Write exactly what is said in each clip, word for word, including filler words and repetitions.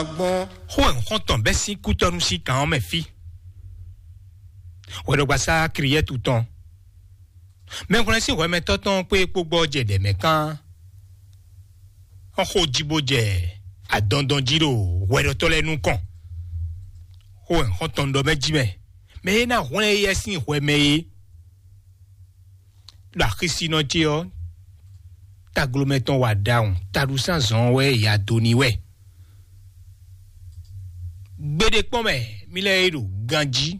Gbɔn xó ɛ xɔ́ntɔn bɛ́ sín kútɔ́nú sín kan ɔ́ mɛ fí. Hwɛɖɔgbasá Kriyɛ́tu tɔn, mɛhwlɛ́n sín hwɛmɛtɔ́ tɔn kpé kpó gbɔ jɛ ɖɛ mɛ kán. Ɔ́ xó jí bó jɛ adɔndɔn jí ɖo hwɛɖɔtɔ́ lɛ́ɛ nukɔn. Xó ɛ xɔ́ntɔn ɖɔ mɛ jí mɛ, mɛ e ná hwlɛ́n éyɛ́ sín hwɛ mɛ é. Ɖo axisínɔ ce ɔ́, taglomɛ tɔn wa ɖawun, taɖusán zɔn wɛ ya do n'i wɛ. Gbeɖé kpɔ́n mɛ, mí lɛ́ɛ e ɖo ganjí,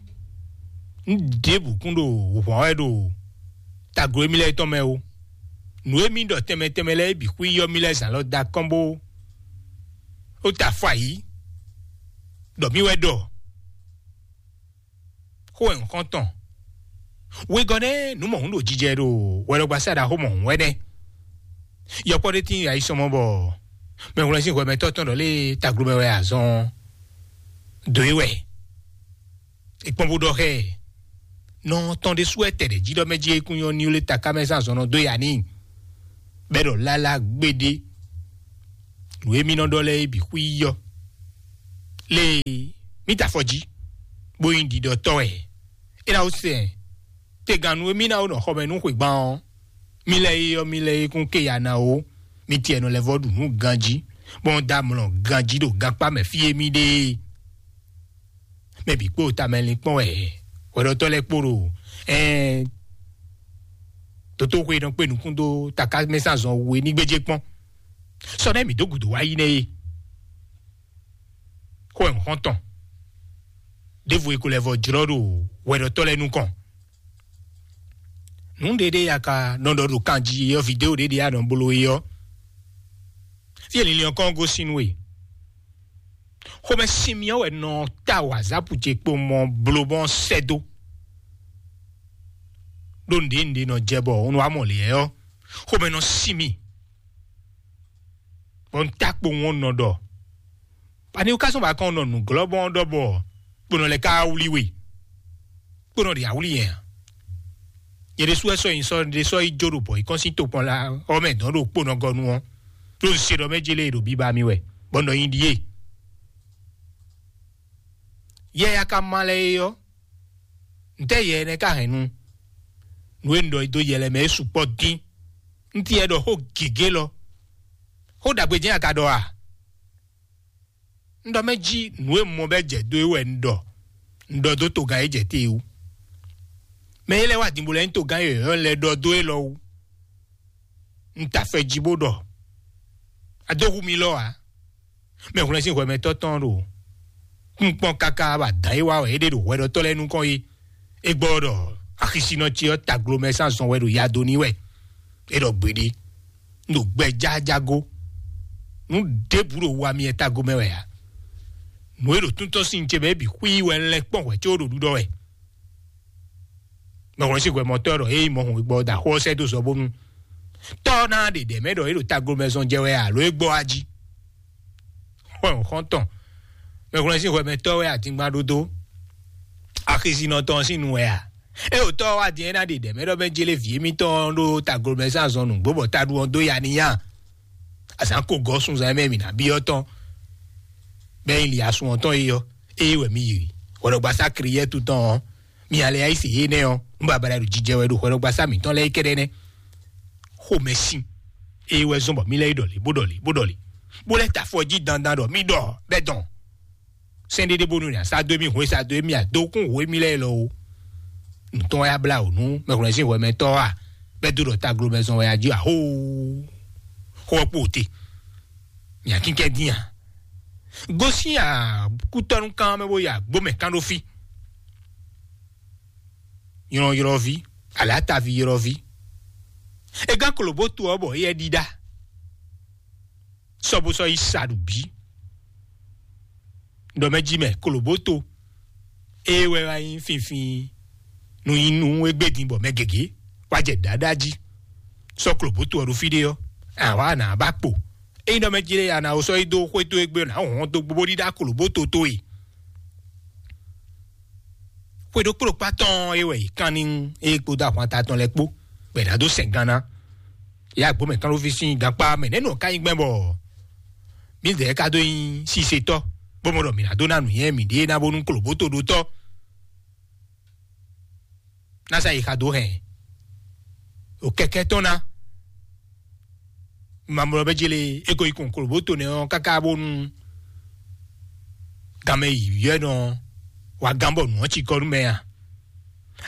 un ɖěbǔ kún ɖo hwǎn wɛ ɖo taglo émí lɛ́ɛ tɔn mɛ ó. Nǔ e mí ɖɔ tɛnmɛ tɛnmɛ lɛ́ɛ é bǐ xwíyɔ́ mí lɛ́ɛ zǎn lɔ da kɔn bó ó ta afɔ ayǐ, ɖɔ mí wɛ ɖɔ. Xó wɛ nǔxɔ́ntɔn. Wegɔ́ nɛ́ nǔ mɔ̌hun ɖo jijɛ ɖo hwɛɖɔgbasá ɖaxó mɔ̌hun wɛ nɛ́. Yɔkpɔ́ ɖé tín ayisɔmɔ bɔ mɛhwlɛ́n sín hwɛmɛtɔ́ tɔn ɖɔ lé taglomɛ wɛ azɔn dó é wɛ. È kpɔ́n bó ɖɔ xɛ nɔ tɔn ɖésú wɛ tɛɖɛ jí ɖɔ mɛ jí é kún nyɔ́ ní lé taká mɛ zán azɔn nɔ dó ya n'i. Bɛ́ ɖɔ lálá gbéɖé. Nǔ e mí nɔ ɖɔ lɛ́ɛ é bǐ xwíyɔ́. Lée, mí ta afɔ jí, bó nyí ɖiɖɔtɔ́ wɛ. É ná wú sɛn tegannú e mí ná wú nɔ xɔ mɛ nú xwegban ɔ́, mí lɛ́ é ɔ́, mí lɛ́ é kún ké ya ná ó. Mí tiɛ nɔ lɛ́ vɔ́ ɖu nǔ ganjí, bɔ un dó amlɔ ganjí ɖo gankpá mɛ fí e mí ɖe é. Mɛ bǐ kpó tamɛ linkpɔ́n wɛ hwɛɖɔtɔ́ lɛ́ɛ kpó ɖo ɛɛ dotóxwe nɔ kpé nukún dó taká mɛ sín azɔn we ní gbéjé kpɔ́n. Sɔ nɛ́ mǐ dó gǔdo wá yi nɛ́ é. Xó ɛ xɔ́ntɔn ɖěvo e ko lɛ́ vɔ jlɔ́ ɖo hwɛɖɔtɔ́ lɛ́ɛ nukɔn. Nǔ ɖé ɖé ya ka nɔ ɖɔ ɖo kan jí é ɔ́, vidéo ɖé ɖé ya nɔ bló é ɔ́, fí e linlin ɔ́ kɔn gosín nú we. Xomɛ sin mì ɔ́ wɛ nɔ ta wǎzápù ce kpo mɔ bló bɔ sɛ́ dó. Ɖó nǔɖé nǔɖé nɔ jɛ bɔ un wá mɔ lě ɔ́, xomɛ nɔ sin mì. Bɔ un ta kpowun ɔ́ nɔ ɖɔ. Ani wú ká sɔ́ ba kɔn nɔ nǔglɔ́bɔn ɔ́ ɖɔ bɔ kponɔ lɛ́ɛ ka wlí we. Kponɔ ɖe awlí yɛn a? Yɛ ɖésú wɛ sɔ́ nyi sɔ́ ɖé sɔ́ yi jó ɖo bɔ̌ yi kɔn sín tokpɔn la ɔ́ mɛ dɔn ɖo kponɔ gɔ́ nu ɔ́. Ɖó un se ɖɔ mɛ jélé ɖo bíbá mi wɛ, bɔ nɔ nyi ɖíe. Yɛ ya ka ma lɛ é ɔ́, ntɛ́ yɛ énɛ́ ka hɛn nu? Nǔ e un ɖɔ dó yɛ lɛ́ɛ mɛ é sukpɔ́ dín. Un ti yɛ ɖɔ xó gěgé lɔ. Xó ɖagbe jɛ́n a ka ɖɔ a? Un ɖɔ mɛ jí nǔ e mɔ bɛ́ jɛ dó é wɛ un ɖɔ. Un ɖɔ dó togán e jɛ te wú. Mɛ e lɛ́ wá din bó lɛ́ nyí togán e yɔ̌yɔ́ lɛ́ ɖɔ dó é lɔ wú. Un ta fɛ jí bó ɖɔ. A dó hu mi lɔ ǎ. Mɛ hwlɛ́n sín hwɛmɛtɔ́ tɔn ɖo kúnkpɔ́n káká bɔ adǎn e wa wɛ é ɖe ɖo hwɛɖɔtɔ́ lɛ́ɛ nukɔn é. É gbɔ ɖɔ axisinɔ ce ɔ́ taglomɛ sín azɔn wɛ ɖo ya dó n'i wɛ. É ɖɔ gbeɖé. Un ɖo gbɛ jájágó. Nǔ ɖěbǔ ɖo wa myɛ tago mɛ wɛ ǎ. Nǔ e ɖo túntɔ́ sín ce mɛ é bǐ xwí wɛ un lɛ́ kpɔ́n hwɛ̌ có ɖo ɖuɖɔ wɛ. Mɛhwlɛ́n sín hwɛmɔtɔ́ ɖɔ é yi mɔ hɔn gbɔ da xó ɔ́ sɛ́ dó zɔ bónú tɔ́ ná ɖe ɖɛ̌ mɛ ɖɔ é ɖo taglomɛ zɔn jɛ wɛ alo é gbɔ wá jí. Xɔn xɔn tɔn, mɛhwlɛ́n sín hwɛmɛtɔ́ wɛ adingban ɖó dó. Axisinɔ tɔn sín nu wɛ a? É ɖo tɔ́ wá din é ná ɖe ɖɛ̌ mɛ ɖɔ mɛ jélé vǐ émítɔn ɖó taglomɛ sín azɔn nǔgbó bɔ taɖu ɔ́ dó ya n'i a? Azǎn ko gɔ́ sunzan mɛ mǐ ná byɔ́ tɔn. Bɛ́ nyi li asun ɔ́ tɔn é ɔ́, ée wɛ mi yi hwɛɖɔgbasá Kriyɛ́tu tɔn ɔ́, mi alɛ yá yi se yé nɛ́ ɔ́, nú babala ɖo jijɛ wɛ ɖo hwɛɖɔgbasá mǐtɔn lɛ́ɛ kɛ́ɖɛ́ nɛ́. Xomɛ sín, ée wɛ zɔ́n bɔ mí lɛ́ yi ɖɔlě bó ɖɔlě bó ɖɔlě, bó lɛ́ ta afɔ jí dandan ɖɔ mí ɖɔ bɛ́ dɔn. Sɛ́n ɖéɖé bónú nya sá dó mì hwě sá dó mì adókún hwě mì lɛ́ɛ lɔ o. Nǔtɔn wɛ abla o nú mɛhwlɛ́n sín hwɛmɛtɔ́ a? Bɛ́ dó ɖɔ taglomɛ zɔn wɛ a jí a hoo. Xó ɔ́ kpo te. Nya kínkɛ́ dín a? Gosín a kútɔ́nú kán mɛ bó ya gbó mɛ kán ɖó fí. Ylɔ́ylɔ́ví, alǎtaví ylɔ́ví. É gán klobótu ɔ́ bɔ éyɛ́ ɖíɖá. Sɔ́ bó sɔ́ yi sa ɖu bǐ. Ɖɔ mɛ jí mɛ klobóto. Ée wɛ wá nyí finfin nu nyí nú égbé din bɔ mɛ gěgé wá jɛ ɖǎɖá jí. Sɔ́ klobóto ɔ́ ɖo fí ɖé ɔ́, àwa nǎ ba kpo. Ényí ɖɔ mɛ jí lé a nǎ wó sɔ́ yi dó xwé towe gbe ɔ́, nǎ hɔn dó gbogbo ɖíɖá klobóto towe. Xwe ɖokpó ɖo kpá tɔn é wɛ yě kán ní é kpódó ahwanta tɔn lɛ́ɛ kpó, bɔ è nǎ dó sɛn gan ná. Yá gbɔmɛ kánɖóví sín gankpá mɛ nɛ̌ nɔ ká nyí gbɛn bɔ Mǐdɛɛ ka dó nyí sisetɔ́, bó mɔ ɖɔ mǐ ná dó ná nǔnywɛ́ mǐɖée ná bónú klobóto ɖó tɔ́. Ná sa yi xa dó hɛn o kɛkɛ tɔn ná. Mamlɔ bɛ jele eko yi kun klobóto nɛ ɔ́ káká bónú ganmɛ yiyɔ́ nɔ wa gán bɔ nǔ ɔ́ cikɔ nú mɛ a?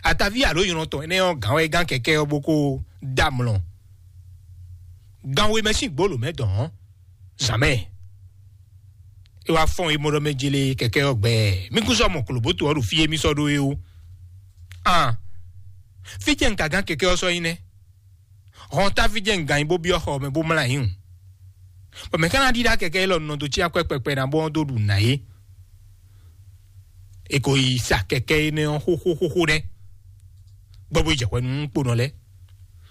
Ataví alo nylɔ tɔn énɛ́ ɔ́ gǎn wɛ gán kɛkɛ ɔ́ bó kó dá mlɔ. Gan we mɛ sín gbolo mɛ dɔn ɔ́, zǎn mɛ. É wá fɔ́n e mɔ ɖɔ mɛ jele kɛkɛ ɔ́ gbɛ. Mí kún sɔ́ mɔ klobóto ɔ́ ɖo fí e mí sɔ́ ɖó é ó. An, fí cɛ un ka gán kɛkɛ ɔ́ sɔ́ nyí nɛ́? Hɔn táfí jɛ un gǎn nyi bó byɔ́ xɔ mɛ bó mlá nyí hǔn. Bɔ mɛ̌ ka ná ɖíɖá kɛkɛ élɔ́ nɔ dó cí akwɛ́ kpɛkpɛ ná bó ɔ́ dó ɖu nǎ é? È ko yi sa kɛkɛ énɛ́ ɔ́ xóxóxóxó nɛ́. Gbɔ bó yi jɛ hwɛ nú kponɔ lɛ́ɛ.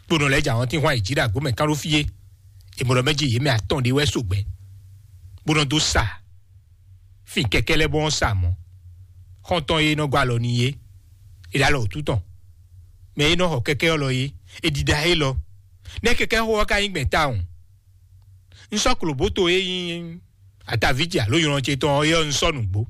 Kponɔ lɛ́ɛ jɛ àwọn tín hwan yi jí ɖo agbǒ mɛ kán ɖó fí é. È mɔ ɖɔ mɛ jí yě mɛ atɔn ɖé wɛ so gbɛ. Bó nɔ dó sa fin kɛkɛ lɛ́ɛ bó nɔ sa mɔ̌. Xɔ́ntɔn e nɔ gɔ́ alɔ n'i é, è ɖo alɔ wǔtu tɔn. Mɛ e nɔ xɔ kɛkɛ ɔ́ lɔ é, è ɖiɖa é lɔ. Nɛ́ kɛkɛ xó ɔ́ ka nyí gbɛn tawun. Un sɔ́ klobóto e nyí ataví ce alo nylɔ ce tɔn ɔ́ é ɔ́, un sɔ́ nǔgbó.